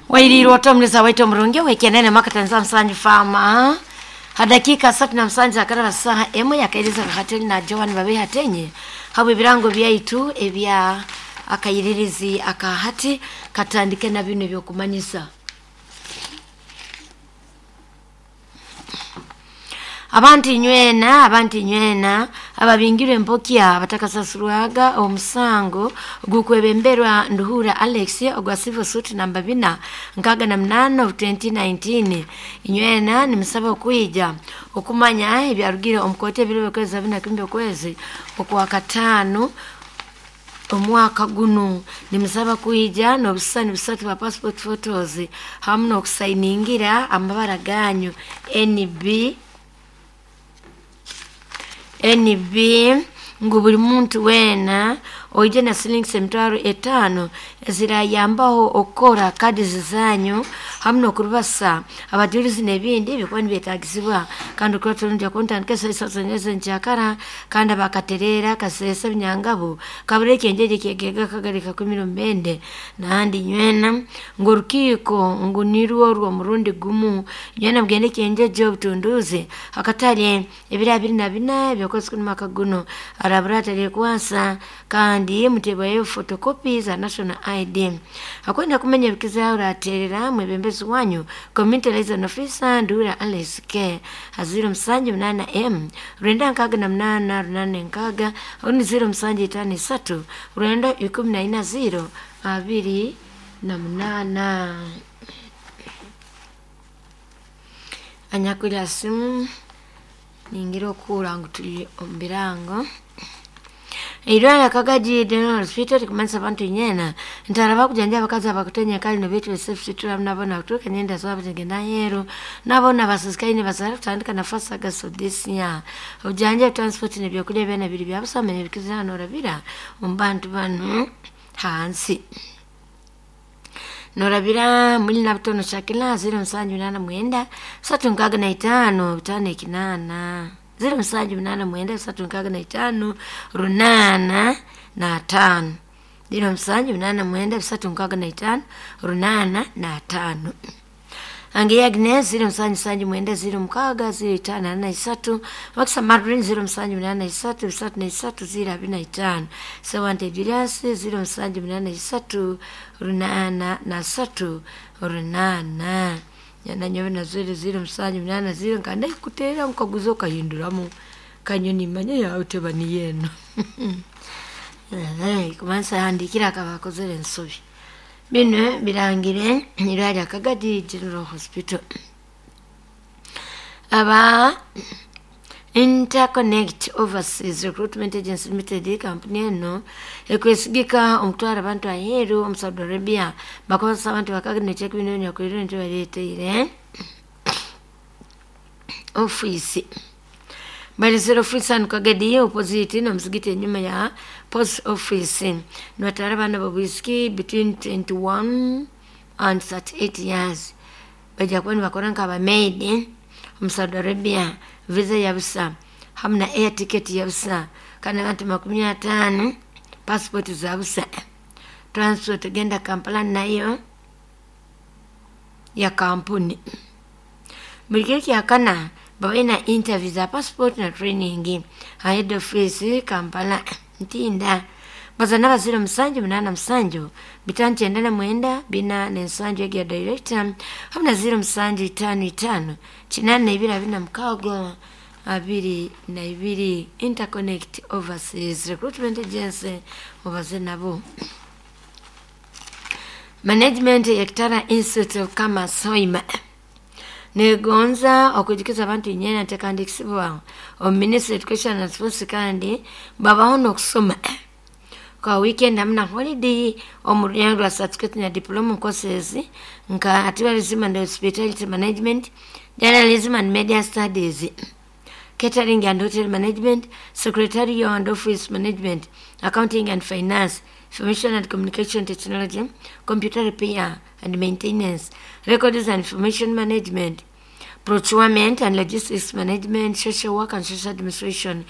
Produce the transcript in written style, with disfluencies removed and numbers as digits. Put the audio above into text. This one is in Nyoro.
Wailirwa otomulisa waitu omurungi wekenene makatanza msanju fama hadakika 37 akarara saha emwe yakairiza kahateli na Joan babe hatenye habwe ebirango byaitu ebya akayiririzi akahati katandike na bino ebyokumanyisa. Abantu inywena, abantu inywena ababingirwe empokya abatakasasurwaga omusango gukwebemberwa Nduhura Alex ogwa civil suit namba 468 of 2019. Inywena nimusaba okwija okumanya ebyarugire omu kooti ebiro byokwezi 41 okwezi okwa kataano omwaka guno. Nimusaba kwija n'obusisani busatu bwa passport photos hamu n'okusainingira amabara ganyu NB NB ngu buli muntu weena oije na silingi 50,000 ezirayambaho okukora kadi zanyu hamu n'okurubasa abajulizi n'ebindi ebikuba nibyetagisibwa. Kandi okuba turungi kuntandika esaiso nkyakara kandi abakaterera kasesa ebinyangabu kabura ekyenjeje kyegega kagari kakumira omubende. Nahandi nywena ngu orukiiko ngu nirwo rw'omurundi gumu, nywena mugende ekyenjeje obutunduuzi akatale ebiro 24 ebyokwezi kunu mwaka guno arabura ataryekwasa kandi mutebwayo photocopy za national ID. Akwenda kumenya ebikizaho oraterera mwebembezi wanyu community liaison officer Ndura Alex K 078 M 968 86 oni 0753 914 0 28. Anyakwira simu ningira okuura ngu tuli omu birango. Eirwara Kagaji General Hospital likumanyisa abantu inyena ntaraba kujanja abakazi abakutenya kali nobetu besefu nabo nakutuuka nyenda zabo zigenda aheeru nabo nabasisikaine bazara kutandika nafasi August of this year. Obujanja, transport n'ebyokulya byona biri byabusa. Manya ebikizira norabira omu bantu banu hansi norabira muli nabutono Shakila 0789 365 58 0789 365 85 0789 365 85. Ange Agnes 0779 06 0543, Wakisa Marlin 0783 3 3 025, Sewante Julius 0783 83 8 nyananyowe na 00 780 nkanda ikuteera nkaguza okahinduramu kanyoni manya yawe teba niyo eno kumanisa handikira akaba akozere ensobi. Bino birangire irwari Akagadi General Hospital. Aba Interconnect Overseas Recruitment Agency Limited, kampuni eno ekwesigika omutwara abantu aheeru omu Saudi Arabia, bakozesa abantu bakaga nekibino nyakwirire nti baleteire ofiisi balizire office hanu Kagadi opposite n'omuzigiti enyuma ya post office. Nibatwara abaana babwisiki between 21 and 38 years, bajja kuba nibakora nk'abamaid omu Saudi Arabia. Visa ya busa hamu na air ticket ya busa kandi abantu 50 passport za busa, transport genda Kampala nayo ya kampuni. Buli kiro kyakana babaine interview za passport na training ha head office Kampala Ntinda. Bazana ba 0787 599 47 egi ya director hamu na 0755 82 46 22. Interconnect Overseas Recruitment Agency, mubaze nabo. Management ya Kitara Institute of Commerce Hoima negonza okujukiza abantu inyena ntekandikisibwa omu Ministry Education and Sports kandi babaho n'okusoma kwa weekend hamwe na holiday omu ruyango rwa certificate na diploma courses nka tourism and hospitality management, journalism and media studies, catering and hotel management, secretarial and office management, accounting and finance, information and communication technology, computer repair and maintenance, records and information management, procurement and logistics management, social work and social administration.